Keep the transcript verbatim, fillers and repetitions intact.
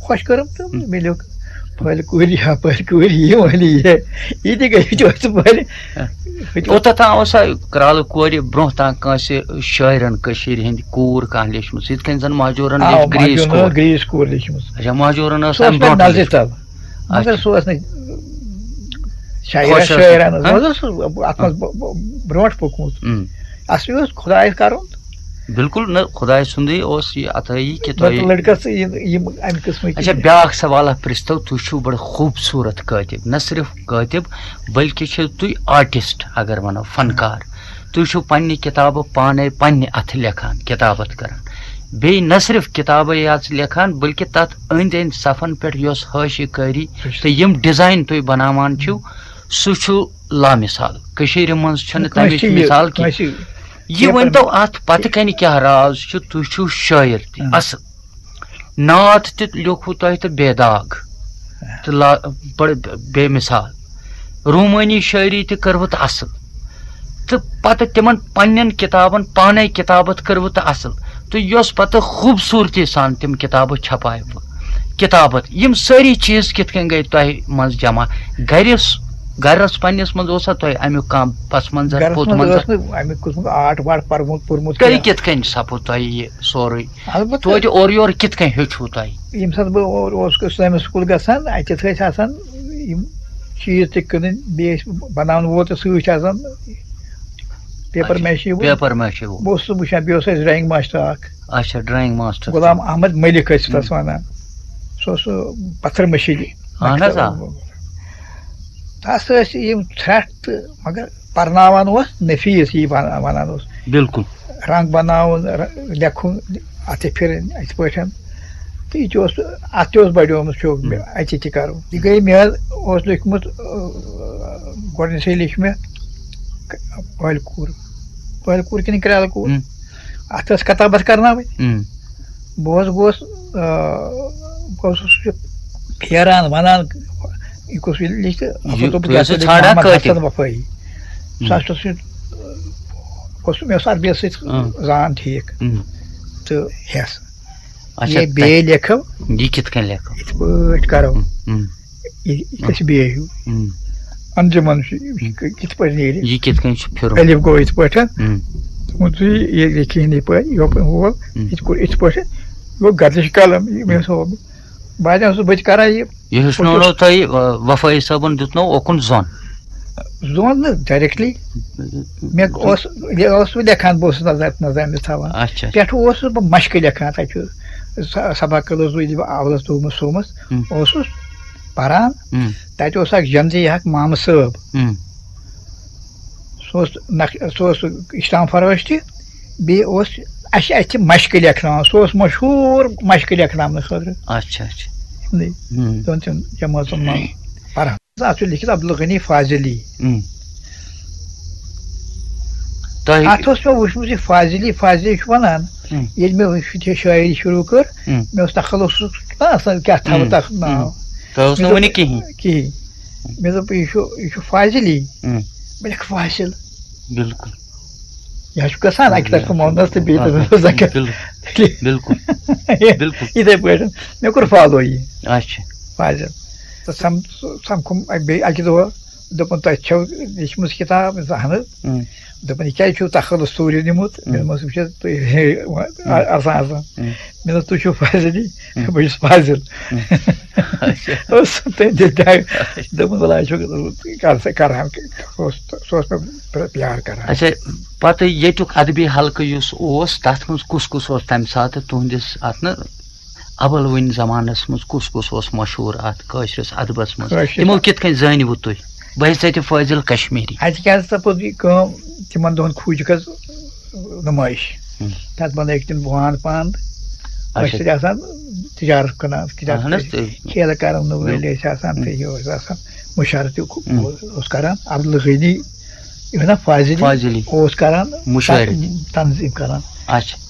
خۄش کٔرٕم تہٕ مےٚ لیوٚکھ پھٔلۍ کورِ یا پھٔلۍ کورِ یہِ وَنہِ یہِ، یہِ تہِ گٔے چوسہٕ پھٔلۍ۔ کوٚت تام اوسا کرٛالہٕ کورِ برٛونٛہہ تام کٲنٛسہِ شٲعرَن کٔشیٖرِ ہِنٛدِ کوٗر کانٛہہ لیچھمٕژ، یِتھ کٔنۍ زَن مہجوٗرَن آ، لیچھ گرٛیٖس مہجوٗرَن کوٗر؟ ٲس گرٛیٖس کوٗر لیچھمٕژ۔ اچھا، مہجوٗرَن ٲس سۄ ٲس اَمہِ مےٚ برٛونٛہہ نظرِ لیچھمٕژ۔ تَل، مگر اچھا۔ سۄ ٲس نہٕ شاعرہ خۄش ٲس۔ شٲعرہ نہٕ، ہاں؟ سۄ ٲس اَتھ منٛز ب- ب- برٛونٛٹھ پوٚکمُت۔ اَصلی اوس خۄدایَس کَرُن۔ بِلکُل نہٕ، خۄداے سُنٛدُے اوس یہِ عطٲیی کہِ تۄہہِ لٔڑکَس یِم یِم اَمہِ قٕسمٕکۍ اچھا، بیٛاکھ سوالہ پرٛژھتو، تُہۍ چھِو بَڑٕ خوٗبصوٗرت کٲتِب، نہ صرف کٲتِب، بلکہِ چھِو تُہۍ آرٹسٹ، اگر وَنو، فنکار۔ تُہۍ چھِو پنٛنہِ کِتابہٕ پانَے پنٛنہِ اَتھٕ لیکھان، کِتابت کران۔ بیٚیہِ نہ صرف کِتابے یٲژ لیکھان، بلکہِ تَتھ أنٛدۍ أنٛدۍ صفن پٮ۪ٹھ یۄس حٲشی کٲری تہٕ یِم ڈیزائن تُہۍ بناوان چھِو، سُہ چھُ لامثال۔ کٔشیٖرِ منٛز چھُنہٕ کٲنٛسہِ تَمِچ یہِ- مثال کینٛہہ۔ کٲنٛسہِ یہِ ؤنۍ تو، اَتھ پَتہٕ کَنہِ کیٛاہ راز چھُ؟ تُہۍ چھِو شٲعر تہِ، اَصٕل نعت تہِ لیوٚکھوٕ تۄہہِ تہٕ بے داغ تہٕ لا-، بڑٕ بے مثال۔ رومٲنی شٲعری تہِ کٔروٕ تہٕ اَصٕل۔ تہٕ پَتہٕ تِمَن پنٛنٮ۪ن کِتابَن پانَے کِتابت کٔروٕ تہٕ اَصٕل۔ تہٕ یۄس پَتہٕ خوٗبصوٗرتی سان تِم کِتابہٕ چھپایوٕ۔ کِتابت، یِم سٲری چیٖز کِتھ کٔنۍ گٔے تۄہہِ منٛز جمع؟ گَرِس، گَرَس پنٛنِس منٛز اوسا تۄہہِ اَمیُک کانٛہہ پس منظر، گَرَس پوٚت منٛز منظر؟ ٲس نہٕ اَمیُک قٕسمُک آرٹ وارٹ پَرمُت، پوٚرمُت تیٚلہِ کینٛہہ۔ کِتھ کٔنۍ سَپُد تۄہہِ یہِ سورُے؟ البتہ توتہِ اورٕ یورٕ کِتھ کٔنۍ ہیوٚچھوٕ تۄہہِ؟ ییٚمہِ ساتہٕ بہٕ اور اوسُس سٲنِس سکوٗل گژھان، اَتٮ۪تھ ٲسۍ آسان یِم چیٖز تہِ کٕنٕنۍ، بیٚیہِ ٲسۍ بَناوَن وول تہِ سۭتۍ آسان، پیپر اچھا، میشی وول۔ پیپر میشی وول۔ بہٕ اوسُس وٕچھان، بیٚیہِ اوس اَسہِ ڈرٛایِنٛگ ماسٹر اَکھ، اچھا، ڈرٛایِنٛگ ماسٹر۔ غلام احمد ملک ٲسۍ تَس وَنان۔ سُہ اوس، سُہ پَتھر مٔشیٖدِ۔ اَہَن حظ، آ۔ تَس ٲسۍ یِم ژھرٛٹھ تہٕ مگر پَرناوان اوس نفیٖس، یی وَن-، وَنان اوس۔ بِلکُل۔ رنٛگ بَناوُن، ر-، لیکھُن، اَتھٕ پھِرٕنۍ، یِتھ پٲٹھۍ۔ تہٕ یہِ تہِ اوس، اَتھ تہِ اوس بَڑیومُت شوق مےٚ، اَتہِ تہِ کَرُن۔ یہِ گٔے مےٚ حظ اوس لیوٚکھمُت، آ، گۄڈٕنیتھٕے لیٚچھ مےٚ ک-، پٲلۍ کوٗر۔ پٲلۍ کوٗر کِنہٕ کرٛالہٕ کوٗر؟ ہُم۔ اَتھ ٲس کتابت کرناوٕنۍ۔ ہُم۔ بہٕ حظ گوس، آ، بہٕ اوسُس یہِ پھیران، وَنان، یہِ کُس یہِ لیٚچھ تہٕ یہِ اَتھ دوٚپُکھ، تُہۍ یہِ ہسا ٲسِو لیٚچھ ژھانٛڈان محمد کٲتِب؟ حسن وفٲیی۔ ہُم۔ سُہ ہسا اوس یہِ، اوس، مےٚ اوس عربیَس سۭتۍ ہُم۔ زان ٹھیٖک۔ ہُم۔ تہٕ ہٮ۪س۔ اچھا، یہِ بیٚیہِ تۄہہِ لیکھو۔ یہِ کِتھ کٔنۍ لیکھو؟ یِتھ پٲٹھۍ کرو۔ ہُم۔ یہِ، یہِ گژھِ بیٚیہِ ہیوٗ۔ ہُم۔ انجمن چھُ، یہِ چھُ کِتھ پٲٹھۍ نیرِ؟ یہِ کِتھ کٔنۍ چھُ پھِرُن؟ الف گوٚو یِتھ پٲٹھۍ۔ ہُم۔ دوٚپُن، تُہۍ یہِ لیکھِو ہِنٛدی پٲٹھۍ، یہِ ہُم۔ وول، ہُم۔ یِتھ پٲٹھۍ، یِتھ پٲٹھۍ۔ یہِ گوٚو گردش قلم، یہِ مےٚ ہُم۔ اوس ہومُت۔ بہٕ حظ اوسُس، بہٕ تہِ کران یہِ۔ یہِ ہیٚچھنوونو تۄہہِ، آ، وفٲیی صٲبن دیُتنو اوکُن زۄن؟ زۄن نہٕ directly۔ مےٚ اوس، یہِ اوسُس بہٕ لیکھان، بہٕ اوسُس نظر، نظر أمِس تھاوان۔ اچھا۔ پٮ۪ٹھٕ اوسُس بہٕ مشقہٕ لیکھان، تَتہِ چھُ س-، سبق کٔدٕس بہٕ، ییٚلہِ بہٕ اولس دوٚیمِس سومس ہُم۔ اوسُس پران۔ ہُم۔ تَتہِ اوس اکھ جمجی اکھ مامہٕ صٲب۔ ہُم۔ سُہ اوس نق-، سُہ اوس اسلام فروش تہِ، بیٚیہِ اوس اَسہِ اَتھِ مشقہٕ لیکھناوان۔ سُہ اوس مشہوٗر مشقہٕ لیکھناونہٕ خٲطرٕ۔ اچھا، اچھا۔ یِمنٕے ہُم۔ دۄن ترٛٮ۪ن جمٲژن منٛز پران۔ اَتھ چھُ لیٚکھِتھ عبدالغنی فاضلی۔ اۭں۔ تۄہہِ اَتھ اوس مےٚ وٕچھمُت یہِ فاضلی، فاضلی چھُ وَنان، اۭں۔ ییٚلہِ مےٚ وٕچھ یہِ شٲعری شروٗع کٔر، اۭں۔ مےٚ اوس تخلصُک نہ آسان کیٛاہ تھاوٕ اۭں۔ تَتھ ناو۔ اۭں۔ تۄہہِ اوس مےٚ نہٕ دوٚپ، وٕنہِ کِہیٖنۍ۔ کِہیٖنۍ۔ مےٚ دوٚپ، یہِ چھُ، یہِ چھُ فاضلی۔ اۭں۔ بہٕ لیکھٕ فاضل۔ بِلکُل۔ یہِ حظ چھُ گژھان اَکہِ طرفہٕ اۭں۔ مونس تہٕ بیٚیہِ طرفہٕ اۭں۔ زکر۔ بِلکُل۔ بِلکُل۔ بِلکُل۔ یِتھَے پٲٹھۍ۔ مےٚ کوٚر follow یہِ۔ اچھا۔ فاضل۔ تہٕ سم-، سمکھوٚم بیٚیہِ اَکہِ دۄہ، دوٚپُن، "تۄہہِ چھَو لیٖچھمٕژ کِتاب؟" مےٚ دوٚپُس، "اَہَن حظ۔" اۭں۔ دوٚپُن، "یہِ کیٛازِ چھُو تخلص ژوٗرِ نیوٗمُت؟" مےٚ اۭں۔ دوٚپمَس، "وٕچھ حظ، تُہۍ ہے، اۭں۔ اَ-، اَرسان اَرسان۔" اۭں۔ مےٚ دوٚپ، "تُہۍ چھِو فاضلی؟" اۭں۔ بہٕ چھُس فاضل۔ اۭں۔ اچھا۔ اوس تٔمۍ دِتھ دَگ۔ اچھا۔ دوٚپُن، "وَلہٕ حظ چھُ، کَر سا، کَران کیٛاہ؟" اوس، سُہ اوس مےٚ پرٛ-، پیار کَران۔ اچھا، پَتہٕ ییٚتیُک ادبی حلقہٕ یُس اوس، تَتھ منٛز کُس کُس اوس تَمہِ ساتہٕ تُہٕنٛدِس اَتھ نہٕ اولوٕنۍ زمانس منٛز کُس کُس اوس مشہوٗر اتھ کٲشرِس ادبس منٛز؟ کٲشرِس تِمو کِتھ کٔنۍ زٲنِوٕ تُہۍ؟ بہٕ ہیٚژے تہِ فٲضل کشمیری۔ اتہِ کیٛاہ سا پوٚز یہِ کٲم، تِمن دۄہن کھوٗجِکھ حظ نُمٲیش۔ ہُم۔ تتھ بنٲوِکھ تِم وان پان۔ اچھا۔ أسۍ ٲسۍ آسان تجارت کٕنان، تجارت اہن حظ، ٲسۍ تہٕ کھیلہٕ کرن وٲلۍ بِلکُل۔ ٲسۍ آسان، ہُم۔ تہٕ یہِ اوس آسان مُشارٕ تہِ ہُم۔ اوس کران۔ عبدالغنی، یہِ نا فاضلی فاضلی۔ اوس کران مُشٲعرٕ۔ تن-، تنظیٖم کران۔ اچھا۔